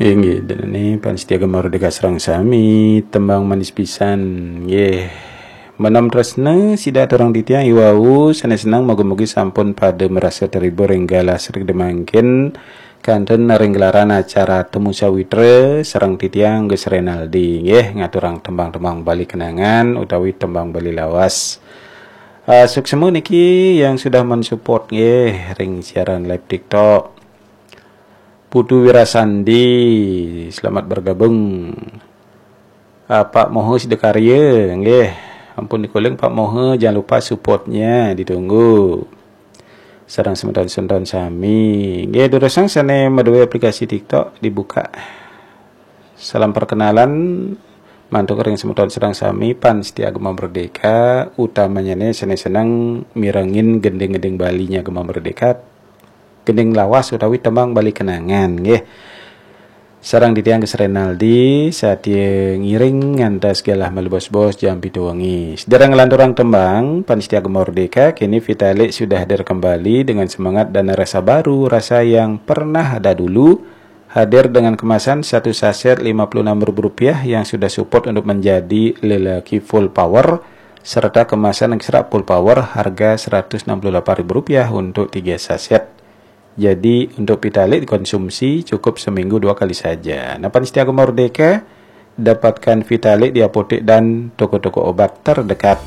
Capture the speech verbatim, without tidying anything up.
Inggih, dene pamiarsa Gema Merdeka sareng sami, tembang manis pisan. Nggih. Menawi tresna sida aturang titiang iwau, sané seneng mugi-mugi sampun pada merasa terhibur ring galah srikda mangkin kantun ring gelaran acara Temu Sawitra sareng titiang Gus Renaldi nggih ngaturang tembang-tembang Bali kenangan utawi tembang Bali lawas. Ah, suksma niki yang sudah mensupport nggih ring siaran live TikTok. Putu Wirasandi, selamat bergabung. Ah, Pak Moho Sidakarya, nggih. Ampun dikuling Pak Moho, jangan lupa supportnya, ditunggu. Sareng semeton-semeton sami. Nggih, durusang sané madué aplikasi TikTok dibuka. Salam perkenalan mantuk ring semeton sareng sami pamiarsa Gema Merdeka, utamanya né sané seneng mirengin gending-gending Balinya Gema Merdeka, gending lawas utawi tembang Bali kenangan nggih. Sareng titiang Gus Renaldi, satia ngiring ngantos galah malebos-bos jam pitu wengi. Sedereng nglanturang tembang, pamiarsa Gema Merdeka, kini Vitalik sudah hadir kembali dengan semangat dan rasa baru, rasa yang pernah ada dulu, hadir dengan kemasan satu saset lima puluh enam ribu rupiah yang sudah support untuk menjadi lelaki full power, serta kemasan extra full power harga seratus enam puluh delapan ribu rupiah untuk tiga saset. Jadi, untuk Vitalik dikonsumsi cukup seminggu dua kali saja. Nah, pamiarsa Gema Merdeka, dapatkan Vitalik di apotek dan toko-toko obat terdekat.